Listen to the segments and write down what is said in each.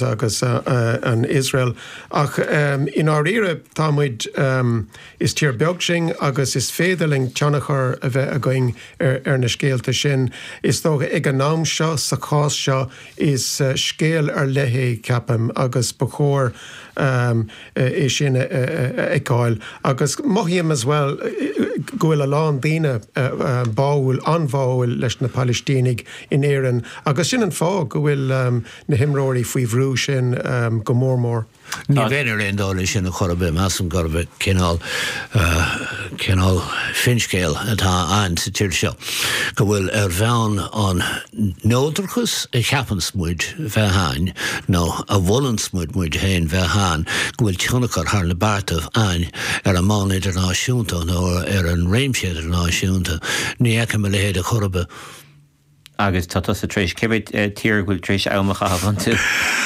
Agus an Iosrael. Ach i ndáiríre, tá muid, is tír beag sinn agus is féidir linn tionchar a bheith againn ar na scéalta sin. Is dócha ag an am seo, sa chás seo, is scéal ar leith é, ceapaim, agus ba chóir é sin a fheiceáil. Agus mothaím as well go bhfuil a lán daoine báúil, an-bháúil leis na Palaistínigh in Éirinn agus sin an fáth go bhfuil na himreoirí faoi bhrú sin go mór mór. Ní bheinn ar aon dul leis sin a chor ar bith. Measaim gurb cineál, cineál finscéal atá ann sa tír seo, go bhfuil ar bhonn an neodrachas a cheapanns muid bheith ann, nó a mholanns muid muid féin bheith ann, go bhfuil tionchar thar na beartaibh ann ar an mbonn idirnáisiúnta nó ar an réimse idirnáisiúnta. Ní fheicim a leithéid a chor ar bith. Agus tá tusa tar éis, cé mhéad tír go bhfuil tar éis am a chaitheamh iontu?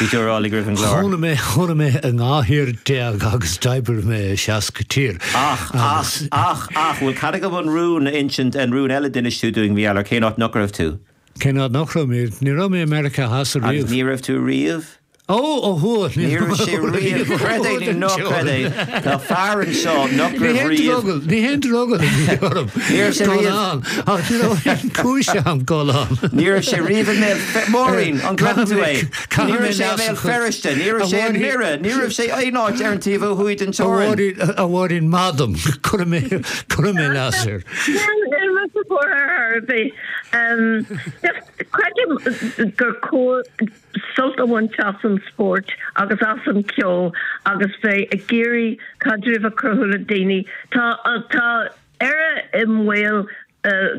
Bhí tú a rá linn roimh an gclár. Chónaigh mé, chónaigh mé i 12 thír agus d'oibrigh mé i 60 tír. Ach, ach, ach, ach, bhfuil cead agam an rún a insint, an rún eile a d'inis tú dúinn, mar gheall ar cén áit nach raibh tú? Cén áit nach raibh mé? Ní raibh mé i Meiriceá Theas ariamh. Agus ní raibh tú riamh? Ó, ó thuaidh, ní raibh sé riamh, creid é nó ná creid é, tá fear anseo nach raibh riamh. Ní haon drogall a bhí orm Ní raibh sé dul riamh. ann, ach ní raibh aon chúis agam dul ann. Ní raibh sé riamh i mBéal Fe-, Máirín, an gcreideann tú é? Caithfidh Ní mé raibh sé i leas mBéal a chur. Feirste, ní raibh A sé i Mháirín, nDoire, ní raibh sé aon áit ar an taobh ó thuaidh den a teorainn. Mháirín, a Mháirín, maith dom, cuirfidh mé, cuirfidh mé leas air. Níl mise buartha ar bith. Just creidim gur cóir sult a bhaint as an spórt agus as an cheol agus bheith ag iarraidh caidreamh a chruthú le daoine. Tá tá Éire i mbaol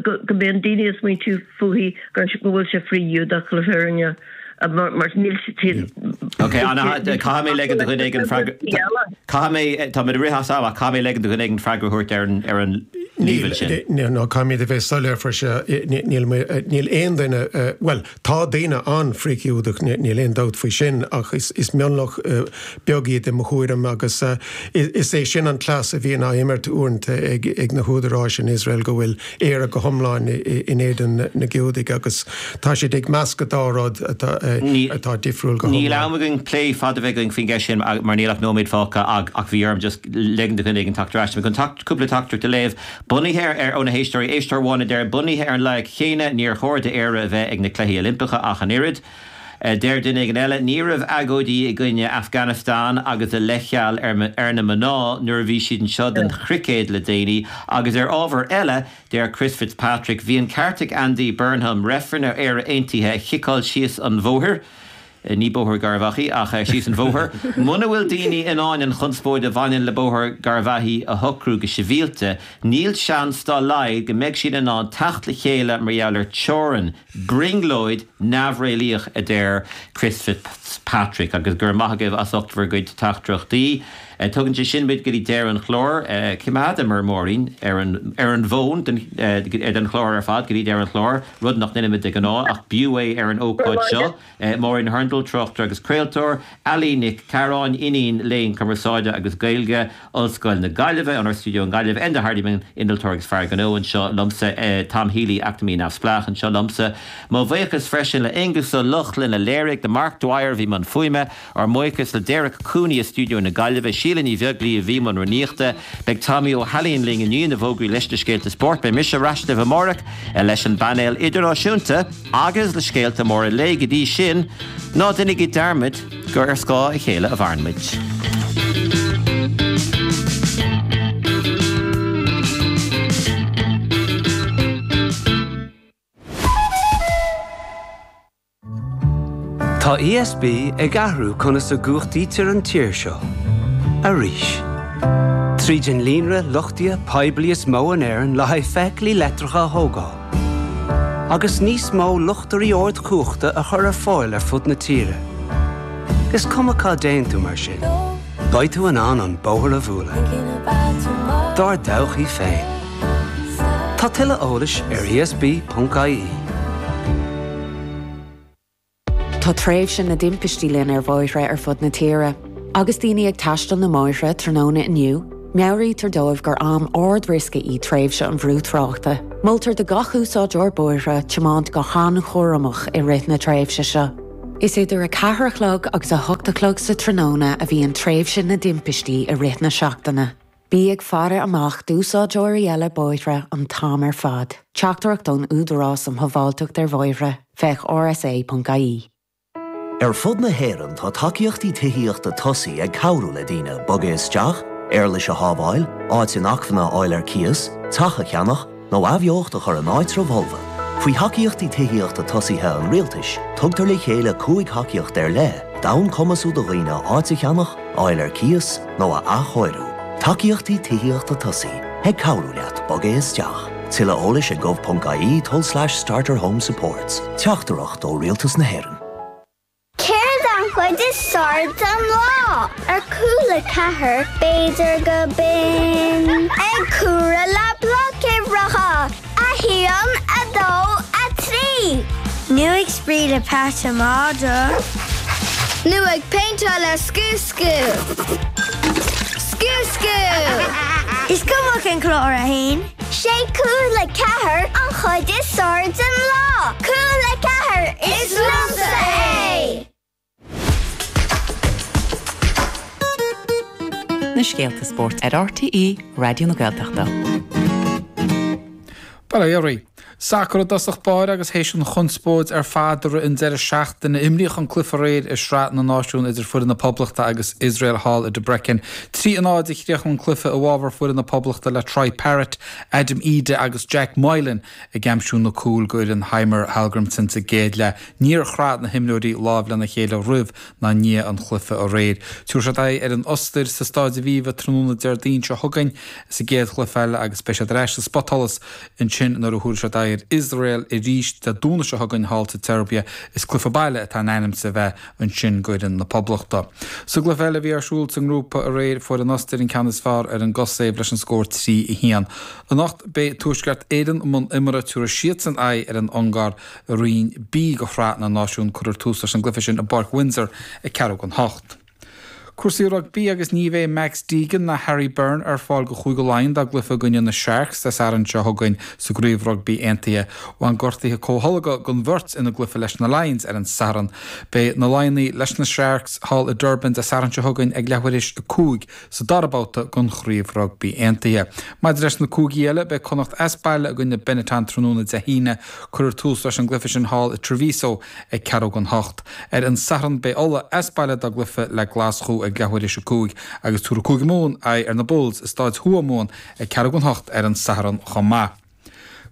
go go mbíonn daoine ag smaointiú fúithi gur go bhfuil sé frith-Ghiúdach le fírinne mar mar níl siad Ok, caithfidh mé ligean do dhuine éigin freagra Caithfidh mé, tá muid ag rith as am ach caithfidh mé ligean do dhuine éigin freagra a thabhairt ar an ar an líomhain sin. Níl, no, caithfimid a bheith soiléir faoi seo, níl níl aon duine, bhuel, Tá daoine an-fhrith-Ghiúdach, níl aon dabht faoi sin, ach is mionlach beag iad i mo thuairim agus is é sin an cleas a bhíonn á imirt uaireanta ag na húdaráis in Iosrael, go bhfuil Éire go hiomlán in éadan na Giúdaigh agus tá siad ag meascadh dá rud atá difriúil go Níl hiomlán. am againn plé fada a bheith againn faoin gceist sin mar níl ach nóiméad fágtha ach bhí orm just ligean do dhuine éigin teacht ar ais. Tá mé chun cúpla teachtaireacht a léamh. Bunaithe ar, ó na héisteoirí, éisteoir amháin a deir, Bunaithe ar an loighic chéanna, níor chóir d'Éire a bheith ag na Cluichí Oilimpeacha ach an oiread. Deir duine éigin eile, Ní raibh agóidí i gcoinne Afghanistan agus a leithcheal ar na mná nuair a bhí siad anseo don chruicéad le déanaí. Agus ar ábhar eile, deir Chris Fitzpatrick, Bhí an ceart ag Andy Burnham reifreann ar Éire Aontaithe a chiceáil síos an bhóthar. Ní Bóthar Gharbhachaidh, ach síos an bhóthar. Muna bhfuil daoine in ann an chonspóid a bhaineann le Bóthar Gharbhachaidh a shocrú go sibhialta, níl seans dá laghad go mbeidh siad in ann teacht le chéile mar gheall ar teorainn. Brionglóid neamhréalaíoch, a deir Chris Fitzpatrick. Agus go raibh maith agaibh as ucht bhur gcuid teachtaireachtaí. Tugann sé sin muid go dtí deireadh an chláir. Choimeádamar Máirín ar an ar an bhfón den den chlár ar fad go dtí deireadh an chláir, rud nach ndéanaimid de ghnáth, ach b'fhiú é ar an ócáid seo. Máirín Hurndall, tráchtaire agus craoltóir, Ali Nic Cearáin, Iníon Léinn Cumarsáide agus Gaeilge, Ollscoil na Gaillimhe, inár stiúideo i nGaillimh, Enda Hardiman, Innealtóir agus Fear Gnó, anseo liomsa, Tom Healy, Eacnamaí Neamhspleách, anseo liomsa. Mo bhuíochas freisin le Aonghus Ó Lochlainn a léirigh, do Mark Dwyer a bhí i mbun fuaime, Ár mbuíochas le Derek Cooney i stiúideo na Gaillimhe, Síle Ní Bheaglaoí a bhí i mbun rúnaíochta. Beidh Tommy Ó hAilín linn i ndiaidh na bhfógraí leis na scéalta spóirt. Beidh mise ar ais libh amárach leis an bpainéal idirnáisiúnta agus le scéalta móra an lae. Go dtí sin, ná déanaigí dearmad gur ar scáth a chéile a mhaireann muid. Tá ESB ag athrú conas a gcumhachtaítear an tír seo. Arís. Tríd an líonra luchtaithe poiblí is mó in Éirinn le haghaidh feithiclí leictreacha a thógáil. Agus níos mó luchtairí ardchumhachta a chur ar fáil ar fud na tíre. Is cuma cá dtéann tú mar sin, beidh tú in ann an bóthar a bhualadh. Dár dtodhchaí féin. Tá tuilleadh eolais ar esb.ie. Tá tréimhse na dtimpistí linn ar bhóithre ar fud na tíre. Agus daoine ag taisteal na mbóithre tráthnóna inniu, meabhraítear dóibh gur am ard-riosca í tréimhse an bhrú tráchta. Moltar do gach úsáideoir bóithre tiomáint go han-chúramach i rith na tréimhse seo. Is idir 4 a chlog agus 8 a chlog sa tráthnóna a bhíonn tréimhse na dtimpistí i rith na seachtaine. Bí ag faire amach d'úsáideoirí eile bóithre an t-am ar fad. Teachtaireacht ón Údarás um Shábháilteacht ar Bhóithre, féach rsa.ie. Ar fud na hÉireann tá tacaíochtaí tithíochta tosaigh ag cabhrú le daoine bogadh isteach, éarlais a shábháil, áit inacmhainne a fháil ar cíos, teach a cheannach, nó athbheocht a chur in áitreabh fholmha. Faoi Thacaíochtaí Tithíochta Tosaithe an Rialtais, tugtar le chéile 5 thacaíocht ar leith d'fhonn cumasú do dhaoine áit a cheannach, a fháil ar cíos nó a athchóiriú. Tacaíochtaí Tithíochta Tosaigh, ag cabhrú leat bogadh isteach. Tuilleadh eolais ag gov.ie tulslais starterhomesupports. Teachtaireacht ó Rialtas na hÉireann. Céard an chuid is fearr den lá? Ar Cúla 4, b'fhéidir go binn ag comhaireamh le blocuimhreacha, 1, 2, 3. Nó ag spraoi le peata madra. Nó ag péinteáil le Scú Scú. Scú Scú! Is cuma cén clár a haon. Sé Cúla 4 an chuid is fearr den lá! Cúla 4, is liomsa é! Na scéalta spóirt ar RTÉ Raidió na Gaeltachta. Bail ó Dhia oraibh. Sacar i dtosach báire agus théis an chonspóid ar fad i rith an deireadh seachtaine, imríodh an cluiche aréir i Sraith na Náisiún idir foireann na Poblachta agus Iosrael thall i Debrecen. 3 a 0 a chríochnaigh an cluiche i bhfabhar foireann na Poblachta le Troy Parrott, Adam Idah agus Jack Moylan ag aimsiú na cúil go fhoireann Heimir Hallgrímsson sa gcéad leath. Níor chraith na himreoirí lámh lena chéile roimh ná i ndiaidh an chluiche aréir. Tabharfaidh siad aghaidh ar an Ostair sa Stáid Aviva tráthnóna Déardaoin seo chugainn sa gcéad chluiche eile agus beidh siad ar ais sa spotsholas ansin nuair a thabharfaidh siad aghaidh ar Iosrael arís Dé Domhnaigh seo chugainn thall sa tSeirbia. Is cluiche baile atá in ainm is a bheith ansin go fhoireann na Poblachta. Sa gcluiche eile a bhí ar siúl sa ngrúpa aréir fuair an Ostair an ceann is fearr ar an gCosaiv leis an scór 3, 1. Anocht beidh Tuaisceart Éireann i mbun imeartha, tabharfaidh siadsan aghaidh ar an Ungáir I Roinn B de Shraith na Náisiún, cuirfear tús leis an gcluiche sin i bPáirc Windsor ag ceathrú don hocht. Cúrsaí rugbaí agus ní bheidh Max Deegan ná Harry Byrne ar fáil do Chúige Laighean dá gcluiche i gcoinne na Sharks Dé Sathairn seo chugainn sa gCraobh Rugbaí Aontaithe. Bhain gortuithe comhtholgtha don bheirt ina gcluiche leis na Lions ar an Satharn. Beidh na Laighnigh leis na Sharks thall i Durban Dé Sathairn seo chugainn ag leathuair théis a 5 sa dara babhta den Chraobh Rugbaí Aontaithe. Maidir leis na cúigí eile, beidh Connacht as baile i gcoinne Benetton tráthnóna Dé hAoine. Cuirfear tús leis an gcluiche sin thall i Treviso ag ceathrú don hocht. Ar an Satharn beidh Ulaidh as baile dá gcluiche le Glaschú ag leathuair théis a 5 agus tabharfaidh Cúige Mumhan aghaidh ar na Bulls i Stáid Thuamhumhan ag ceathrú don hocht ar an Satharn chomh maith.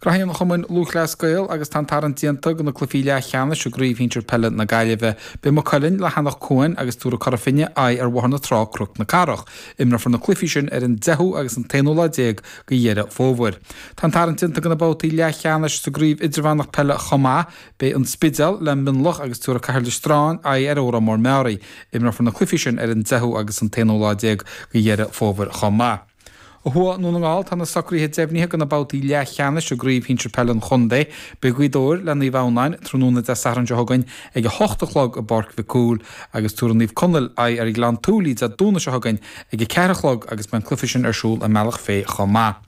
Graithí an Chumainn Lúthchleas Gael agus tá an tarraingt déanta do na cluichí leathcheannais i gCraobh Shinsir Peile na Gaillimhe. Beidh Maigh Cuilinn le hEanach Cuain agus tabharfaidh Cora Finne aghaidh ar Bhóthar na Trá Cnoc na Cathrach. Imreofar na cluichí sin ar an 10ú agus an t-aonú lá déag de Dheireadh Fómhair. Tá an tarraingt déanta do na babhtaí leathcheannais sa gCraobh Idirmheánach Peile chomh maith. Beidh An Spidéal le Mionlach agus tabharfaidh Cathair Loistreáin aghaidh ar Órán Mór Meáraí. Imreofar na cluichí sin ar an 10ú agus an t-aonú lá déag de Dheireadh Fómhair chomh maith. Ó thuaidh i nDún na nGall, tá na socruithe deimhnithe do na babhtaí leathcheannais i gCraobh Shinsir Peile an Chontae. Beidh Gaoth Dobhair le Naomh Adhamhnáin tráthnóna Dé Sathairn seo chugainn ag 8 a chlog i bPáirc Mhic Cumhaill agus tabharfaidh Naomh Conaill aghaidh ar Ghleann tSúilí Dé Domhnaigh seo chugainn ag 4 a chlog agus beidh an cluiche sin ar siúl i mBealach Féich chomh maith.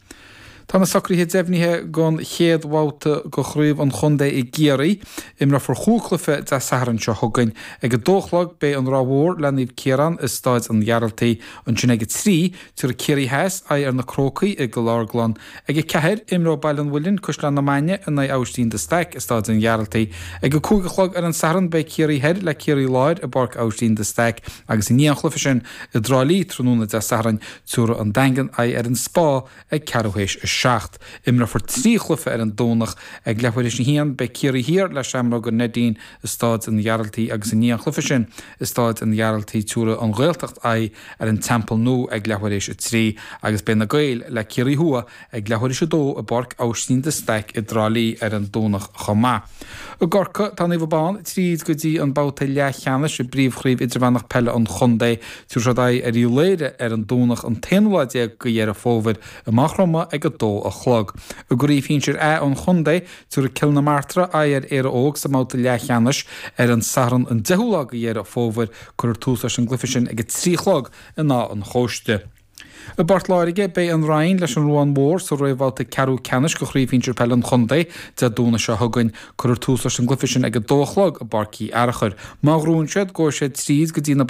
Tá na socruithe deimhnithe don chéad bhabhta de Chraobh an Chontae i gCiarraí. Imreofar chúig chluiche Dé Sathairn seo chugainn. Ag 2 a chlog beidh an Ráth Mhór le Naomh Ciarán i Stáid an Ghearaltaigh. Ansin ag 3, tabharfaidh Ciarraí Theas aghaidh ar na Crócaigh i gCill Orglan. Ag 4, imreoidh Baile an Mhuilinn, Caisleán na Mainge in aghaidh Aibhistín de Staic i Stáid an Ghearaltaigh. Ag 5 a chlog ar an Satharn beidh Ciarraí Thoir le Ciarraí Láir i bPáirc Aibhistín de Staic agus i ndiaidh an chluiche sin i dTrá Lí tráthnóna Dé Sathairn, Tabharfaidh an Daingean aghaidh ar an Spá ag ceathrú théis a 7. Imreofar 3 chluiche ar an Domhnach. Ag leathuair théis a 1, beidh Ciarraí Thiar le Seamróga Neidín i Stáid an Ghearaltaigh agus i ndiaidh an chluiche sin i Stáid an Ghearaltaigh tabharfaidh an Ghaeltacht aghaidh ar an Teampall Nua ag leathuair théis a 3 agus beidh na Gaeil le Ciarraí Thuaidh ag leathuair théis a 2 i bPáirc Aibhistín de Staic i dTrá Lí ar an Domhnach chomh maith. I gCorcaigh, tá Naomh Abán tríd go dtí an babhta leathcheannais i bPríomhchraobh Idirmheánach Peile an Chontae. Tabharfaidh siad aghaidh ar Uíbh Laoghaire ar an Domhnach an t-aonú lá déag de Dheireadh Fómhair i Maigh Chromtha ag 2 a chlog. I gCraobh Shinsir A an Chontae, tabharfaidh Cill na Martra aghaidh ar Éire Óg sa mbabhta leathcheannais ar an Satharn an 10ú lá de Dheireadh Fómhair. Cuirfear tús leis an gcluiche sin ag 3 a chlog in Áth an Chóiste. I bPort Láirge, beidh an Rinn leis an Ruán Mhór sa réamhbhabhta ceathrú ceannais de Chraobh Shinsir Peile an Chontae Dé Domhnaigh seo chugainn. Cuirfear tús leis an gcluiche sin ag a dó a chlog i bPáirc Uí Fhearchair. Má ghnóthaíonn siad, gabhfaidh siad tríd go dtí na.